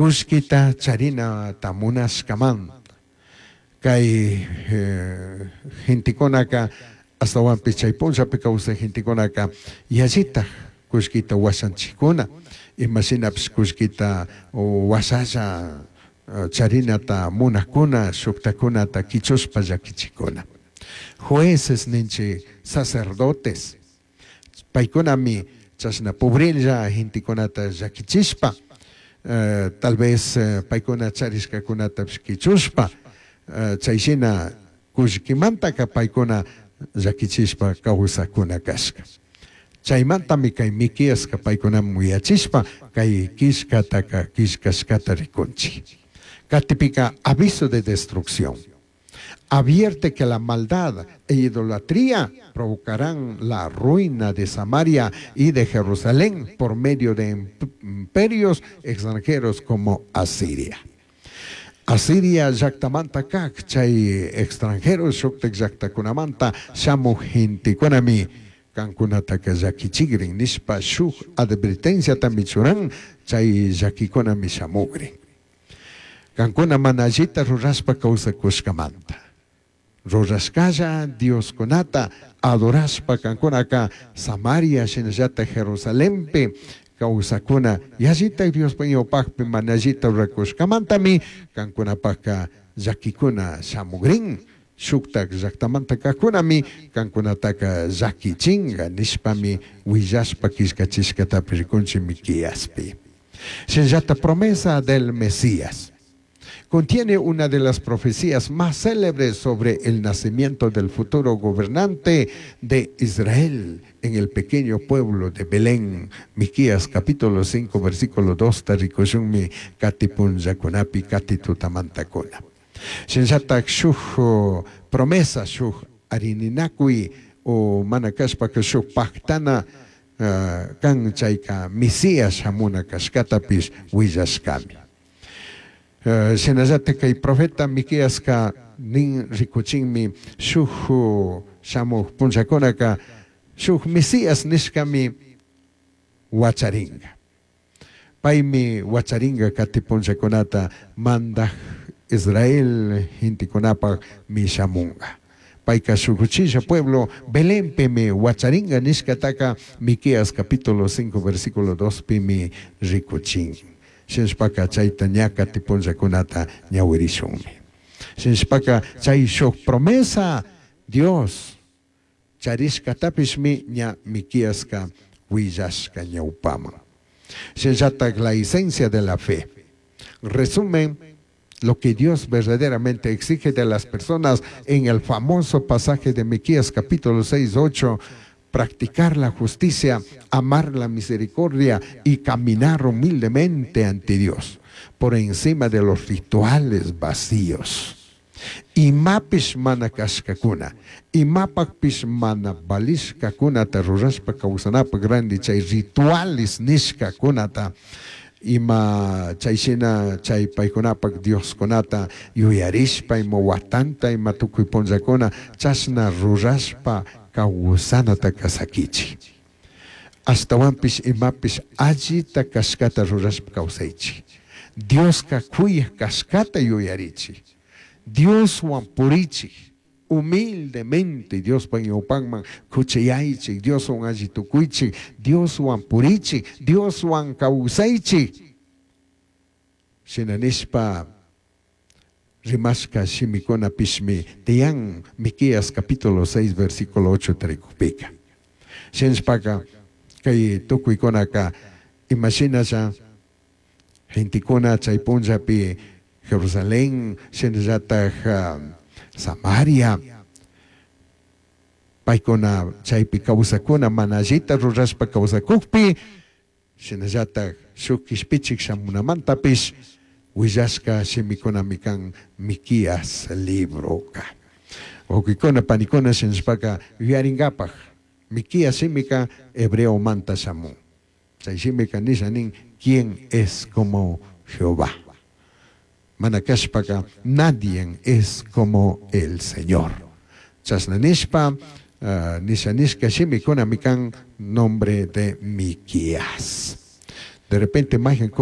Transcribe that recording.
Kullkita charinata munashkamanta kay gentekunaka, ashtawanpish chay punllapi kawsaj gentekunaka yallitaj kullkita washanchijkuna, imashinapish kullkita washalla charinata munajkuna, shujtakunata quichushpa llaquichijkuna. Jueces ninchij, sacerdotes, paykunami chashna pobrella gentekunata llaquichishpa, tal vez paykuna charishkakunatapish quichushpa, chay shina kullkimantaka paykuna llaquichishpa kawsakuna kashka. Chaymantami kay Miqueaska paykunaman uyachishpa kay killkataka killkashkata rikunchik. Katipika aviso de destrucción. Advierte que la maldad e idolatría provocarán la ruina de Samaria y de Jerusalén por medio de imperios extranjeros como Asiria. Asiria llaktamanta kak chay extranjeros shuktak llaktakunamanta shamuj gentekunami kankunataka llakichikrin nishpa shuk advertenciatami churan, chay llakikunami shamugrin. Kankuna mana allita rurashpa kawsakushkamanta. Rurashkalla Dioskunata adorashpa kankunaka Samaria shinallata Jerusalenpi kawsakuna yallita Diospa ñawpakpi mana allita rurakushkamantami kankunapaka llakikuna shamugrin, shuktak llaktamanta kajkunami kankunataka llakichinga nishpami willashpa killkachishkatapi rikunchik Miqueaspi. Shinallata promesa del Mesías. Contiene una de las profecías más célebres sobre el nacimiento del futuro gobernante de Israel en el pequeño pueblo de Belén. Miqueas capítulo 5 versículo 2 rikushunmi kati punllakunapi kati tutamantakuna. Shinallatak shuk promesa, shuk arininakuy o mana kashpaka shuk paktana kan chayka Mesías shamuna kashkatapish willashkami. Shinallatak kay profeta Miqueaska nin rikuchinmi shuk shamuj punllakunaka shuk Mesías nishkami wacharinga. Paymi wacharinga kati punllakunata mandaj Israel gentekunapak mi shamunga. Payka shuk uchilla pueblo Belenpimi wacharinga nishkataka Miqueas capítulo 5 versículo 2 pimi rikuchin. Shinashpaka chayta ña kati punllakunata ñawirishunmi. Shinashpaka chay shuk promesa Dios charishkatapishmi ña Miqueaska willashka ñawpaman. Shinallatak la esencia de la fe. Resumen lo que Dios verdaderamente exige de las personas en el famoso pasaje de Miqueas capítulo 6, 8, practicar la justicia, amar la misericordia y caminar humildemente ante Dios, por encima de los rituales vacíos. Imapish mana kashkakuna, imapakpish mana valishkakunata rurashpa kawsanapak randi chay rituales nishkakunata, ima chay shina chay paykunapak Dioskunata yuyarishpa ima watanta ima tukuy punllakuna chashna rurashpa kawsanata sakichik. Ashtawanpish imapish allita kashkata rurashpa kawsaychik. Dioska kuyaj kashkata yuyarichik. Dioswan purichik. Humildemente Diospa ñawpanman kuchayaychik, Dioswan alli tukuychik, Dioswan purichik, Dioswan kawsaychik. Shina nishpa rimashka shimikunapishmi tiyan Miqueas capítulo 6 versículo 8 tarikupika. Shinashpaka kay tukuykunaka imashinalla gentekuna chay punllapi Jerusalén shinallatak Samaria paykuna chaypi kawsakuna mana allita rurashpa kawsakukpi shinallatak shuk kishpichik shamunamantapish willashka shimikunami kan Miqueas libroka. Wawkikuna panikuna shinashpaka yuyarinkapak Miqueas shimika hebreomanta shamun. Chay shimika nisha nin ¿quién es como Jehová? Mana kashpaka nadie es como el Señor. Chashna nishpa nisha nishka shimikunami kan nombre de Miqueas. De repente mayqankuna.